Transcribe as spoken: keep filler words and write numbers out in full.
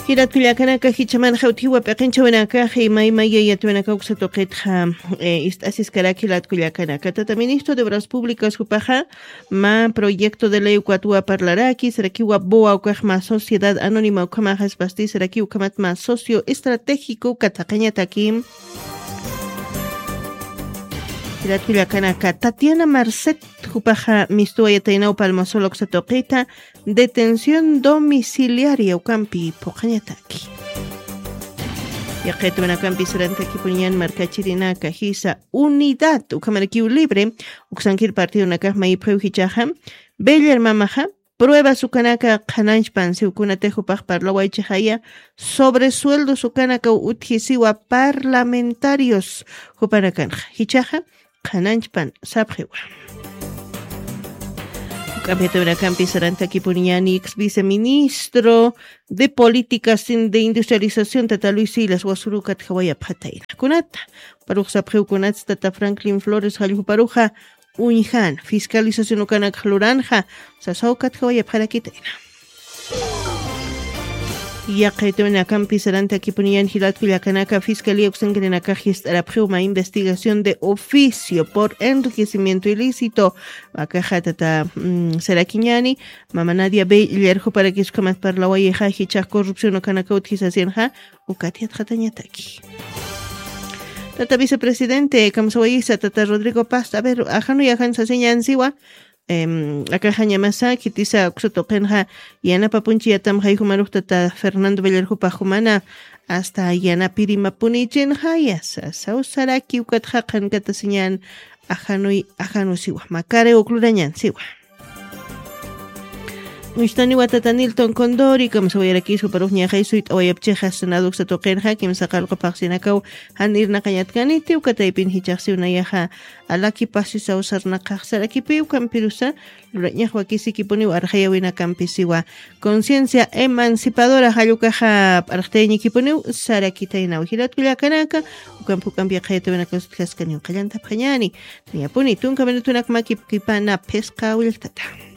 Jilat kullakanaka, jichhamanxa utjiwa p'iqinchhawinakax imayma yayatwinaka uksa tuqitxa, eh, ist'asiskaraki jilat kullakanaka. Tata Ministro de Obras Públicas jupaxa mä proyecto de ley ukatwa parlaraki, sarakiwa BOA ukax mä sociedad anónima ukhamaxa espasti, saraki ukhamat mä socio estratégico ukat jaqañataki. Jilat kullakanaka, Tatiana Marcet jupaxa mistuwayataynaw Palmasola uksa tuqita, detención domiciliaria ukampi phuqhañataki. Yaqitwinakampi sarantakipuniñan markachirinaka jisa Unidad ukhamarakiw Libre uksankir partidonakax mayipxiw jichhaxa, Beller mamaxa pruebas ukanaka qhananchpan siw, kunatix jupax parlawaychixaya, sobresueldos ukanakaw utjisiwa parlamentarios jupanakanxa. Jichhaxa qhananchpan sapxiwa. Uk'ampitawinakampi sarantakipuniñani ex viceministro de Políticas de Industrialización tata Luis Silas Wasuru katjawayapxatayna. Kunata, parux sapxiw kunats tata Franklin Flores jalljuparuxa uñjan, fiscalización ukanakx luranxa, sasaw katjawayapxarakitayna. Yaqitawinakampi sarantakipuniñan jilat kullakanaka, Fiscalía uksankirinakax jist'arapxiwma investigación de oficio por enriquecimiento ilícito. Wakaxa tata, mm, sarakiñani, mama Nadia Beller juparakis ukhamat parlawayixa, jichhax corrupción ukanaka utjisasinxa, ukat yatxatañataki. Tata vicepresidente, kamsawayisa, tata Rodrigo Paz, a ver, ajanuy ajan sasiñan siwa, em, akaxañamasa, khitisa uksa tuqinxa, yanapapunchi yatamxay jumarux tata Fernando Beller jupax jumana, hasta yanapirimapuni chinxaya, sasaw saraki ukatxa qhankatasiñan, ajanuy, ajanu siwa, makare uklurañan siwa. Uñstaniwa tata Nilton Condori, kamsawayarakis juparux ñaxay suyt'awayapchixa, Senado uksa tuqinxa, kimsa qallqu phaxsinakaw jan irnaqañatkaniti, uka taypin jichhax siw nayaxa, alaki pasisaw sarnaqax sarakipiw, kampirusa, lurañax wakisikipuniw arxayawinakampi siwa. Conciencia emancipadora jall ukaxa p'arxtayañikipuniw, sarakitaynaw jilat kullakanaka, ukampi ukampi yaqhayatawinakaw utjaskaniw qallantapxañani. Niyapuni, tunka minutunak makipkipana phisqa willktata.